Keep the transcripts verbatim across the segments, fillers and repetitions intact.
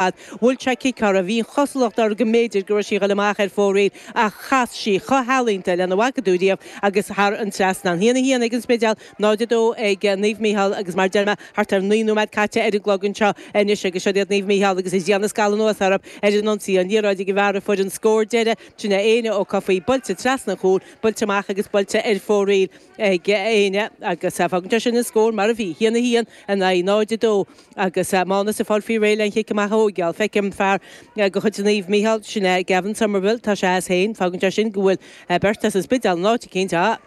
Bhuail sé cic uirthi, bhí an chosúlacht air go mb'fhéidir go raibh sí ag dul amach ar fóraoil ach chas sí chomh healaíonta lena bhfaca tú riamh agus thar an trasnán. A haon a haon ag an Spidéal, náid a dó ag Naomh Mícheál agus mar deir mé thart ar naoi nóiméad caite ar an gclog anseo anois agus siod iad Naomh Mícheál agus ag déanamh scalladh anuas orthu ar an ionsaí. An liathróid ag an bhfear a fuair an scór deiridh, sin é Éanna Ó Cofaigh, buailte trasna an chúil, buailte amach agus buailte ar fóraoil ag Éanna agus fágann sé sin an scór mar a bhí, a haon a haon in aghaidh náid a dó agus Mánas ag fáil faoi réir le an chic amach a thógáil. Feicim fear de chuid Naomh Mícheál, sin é Gavin Somerville, tá sé as féin, fágann sé sin go bhfuil beirt as an Spidéal in áit eicínt. Ah!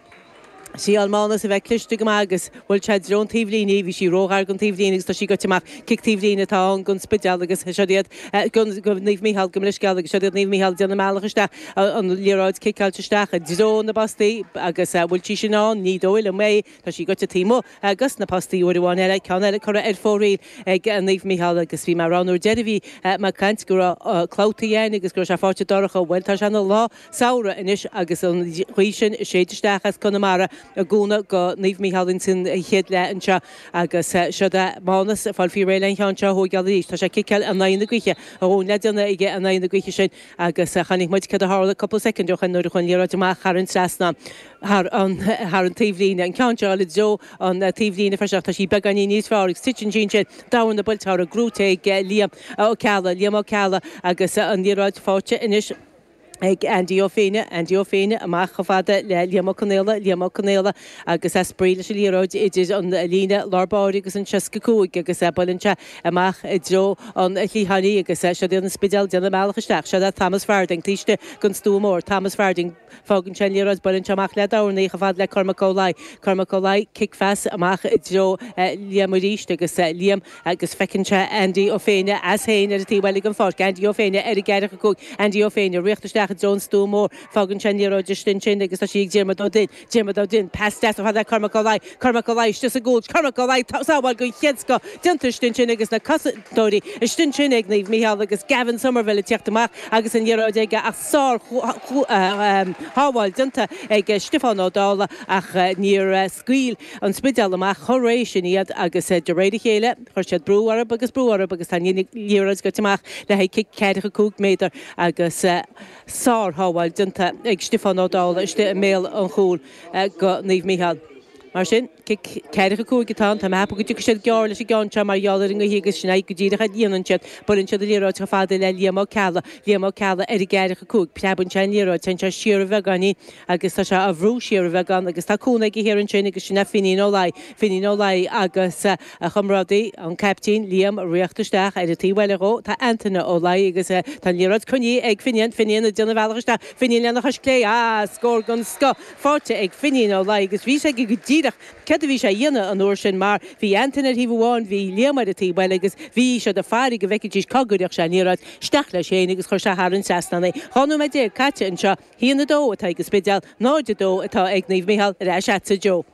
Thriail Mánas a bheith cliste go maith agus bhuail sé i dtreo an taobhlíne í, bhí sí róghar don taobhlíne agus tá sí goite amach. Cic taobhlíne atá ann don Spidéal agus siod iad do Naomh Mícheál, gabh mo leithscéal agus siod iad Naomh Mícheál ag déanamh a mbealach isteach, an liathróid ciceáilte isteach i dtreo na bpostaí agus bhfuil sí sin ann? Ní dóigh liom é, tá sí goite taobh amuigh dos na postaí uair amháin eile, ceann eile curtha ar fóraoil ag Naomh Mícheál agus bhí mé ag rá an uair deiridh a bhí mé ag caint go raibh clabhtaí ann agus go raibh sé faighte dorcha, bhuel tá sé ina lá samhraidh anois agus an ghaoth sin ag séideadh isteach as Conamara i gcúnamh go Naomh Mícheál ins an chéad leath anseo agus siod é Mánas ag fáil faoi réir le an cheann seo a thóigeáil arís. Tá sé ag ciceáil in aghaidh na gaoithe, a dhóthain le déanamh aige in aghaidh na gaoithe sin agus chonaic muid céard a tharla cúpla soicind ó shoin nuair a chuaigh an liathróid amach thar an trasnán, thar an thar an taobhlíne. An ceann seo i dtreo an taobhlíne freisin ach tá sí beagáinín níos fearr agus titeann sí ansin. Darna buailte uirthi gnóite ag Liam Ó Ceallaigh, Liam Ó Ceallaigh agus an liathróid faighte anois ag Andy Ó Féinne, Andy Ó Féinne amach chomh fada le Liam Ó Conaola, Liam Ó Conaola agus é ag spraoi leis an liathróid idir an líne lár báire agus an seasca cúig agus buaileann sé amach i dtreo an chliatháin í agus siod iad an Spidéal ag déanamh a mbealach isteach. Siod é Thomas Farding taobh istigh den stua mór, Thomas Farding. Fágann sé an liathróid, buaileann sé amach le dorn í chomh fada le Cormac Ó Laoi. Cormac Ó Laoi, cic phas amach i dtreo Liam arís agus Liam agus feiceann sé Andy Ó Féinne as féin ar an taobh eile den pháirc. Andy Ó Féinne ar an gceathracha cúig. Andy Ó Féinne, ritheacht isteach i dtreo an stua mór. Fágann sé an liathróid istigh ansin agus tá sí ag Diarmuid Ó Duinn. Diarmuid Ó Duinn, pas deas chomh fada le Cormac Ó Laoi. Cormac Ó Laoi istigh sa gcúl. Cormac Ó Laoi, sábháil den chéad scoth déanta istigh ansin agus na cosantóirí istigh ansin ag Naomh Mícheál agus Gavin Somerville ag tíocht amach agus an liathróid aige ach sár shábháil déanta ag Stiofán Ó Dálaigh ach níor scaoil an Spidéal amach chomh réidh sin iad agus de réir a chéile chuir siad brú orthu agus brú orthu agus tá an liathróid goite amach le haghaidh cic ceathracha cúig méadar agus sár-shábháil déanta ag Stiofán Ó Dálaigh istigh i mbéal an chúil go Naomh Mícheál. Mar sin, cic ceathracha cúig atá ann. Tá mé ag ceapadh go dtiocfaidh siad gearr leis an gceann seo mar gheall ar an ngaoth agus sin é go díreach a dhéanann siad. Buaileann siad an liathróid chomh fada le Liam Ó Ceallaigh. Liam Ó Ceallaigh ar an gceathracha cúig. Preabann sé an liathróid. Téann sé siar a bheagáinín agus tá sé á bhrú siar a bheagán agus tá cúnamh aige thiar ansin agus sin é Finín Ó Laoi. Finín Ó Laoi agus a chomrádaí, an caiptín, Liam, ag ritheacht isteach ar an taobh eile dhó. Tá Antaine Ó Laoi agus tá an liathróid coinnithe ag Finian. Finian ag déanamh a bhealach isteach. Finian lena chois clé. Ah! Scór den scoth faighte ag Finín Ó Laoi agus bhí sé aige go díreach céard a bhí sé a dhéanamh an uair sin mar bhí Antaine ar thaobh amháin, bhí Liam ar an taobh eile agus bhí siad ag faire go bhfeicfidís cá gcuirfeadh sé an liathróid isteach leis féin agus chuir sé thar an trasnán é. Dhá nóiméad déag caite anseo, haon a dó atá ag an Spidéal, náid a dó atá ag Naomh Mícheál ar ais agatsa Joe.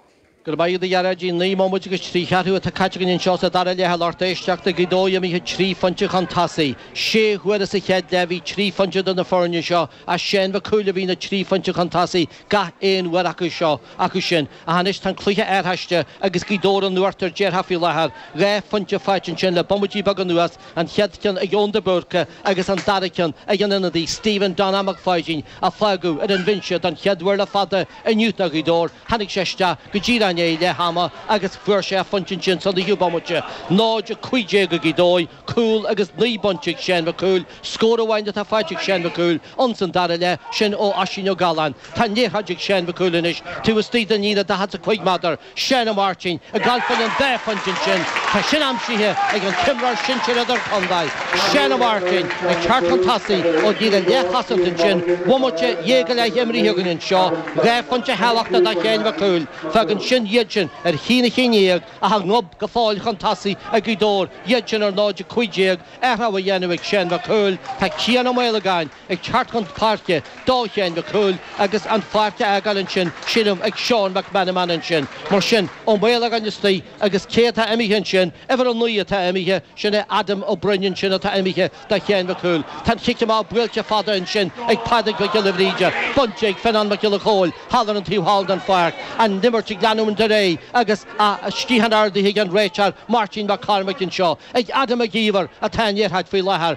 Go raibh maith agat a Ghearóidín. Naoi mbomaite agus trí cheathrú atá caite againn anseo sa dara leath a lucht éisteachta. Gaoth Dobhair imithe trí phointe chun tosaigh. Sé huaire sa chéad leath bhí trí phointe idir na foirne seo ach Seán Mhic Cumhaill a bhí na trí phointe chun tosaigh gach aon uair acu seo acu sin. Ach anois tá an cluiche athraithe agus Gaoth Dobhair in uachtar déarfá faoi láthair. Dhá phointe faighte ansin le bomaití beaga anuas, an chéad cheann ag Eoin de Búrca agus an dara ceann ag an ionadaí Stephen Donagh Mac Pháidín a fágadh ar an bhinse don chéad uair le fada inniu do Ghaoth Dobhair. Tháinig sé isteach go díreach i ndiaidh leath ama agus fuair sé a phointe ansin sa naoú bomaite. náid a cúig déag ag Gaoth Dobhair, cúl agus naoi bpointe ag Seán Mac Cumhaill. Scór amháin atá faighte ag Seán Mac Cumhaill ins an dara leath, sin ó Oisín Ó Galláin. Tá an liathróid ag Seán Mac Cumhaill anois taobh istigh den líne daichead 's a cúig méadar. Seán Ó Máirtín ag gabháil fén an dá phointe ansin. Tá sin aimsithe ag an t-imreoir sinsir idirchontae, Seán Ó Máirtín, ag teacht chun tosaigh ó líne leathchosanta ansin. Bomaite dhéag go leith imrithe againn anseo. Dhá phointe thábhachtacha do Sheán Mac Cumhaill. Fágann sin iad sin ar haon a haon déag ach a ngob go fóill chun tosaigh ag Gaoth Dobhair, iad sin ar náid a cúig déag, athrú á dhéanamh ag Seán Mac Cumhaill. Tá Cian Ó Maolagáin ag teacht chun páirce do Sheán Mac Cumhaill agus an pháirc á fhágáil ansin, sílim, ag Seán Mac Meanman ansin. Mar sin, Ó Maolagáin istigh agus cé atá imithe ansin? Uimhir a naoi atá imithe, sin é Adam Ó Broin ansin atá imithe do Sheán Mac Cumhaill. Tá an chic amach buailte fada ansin ag Pádraig Mac Giolla Bhríde, bainte ag Fionnán Mac Giolla Chóill thall ar an taobh thall den pháirc. An imirt ag leanúint. leanúint ar aghaidh agus a sciathán ardaithe ag an réiteoir Máirtín Mac Cormaic anseo ag Adam Mac Íomhair atá an liathróid faoi láthair.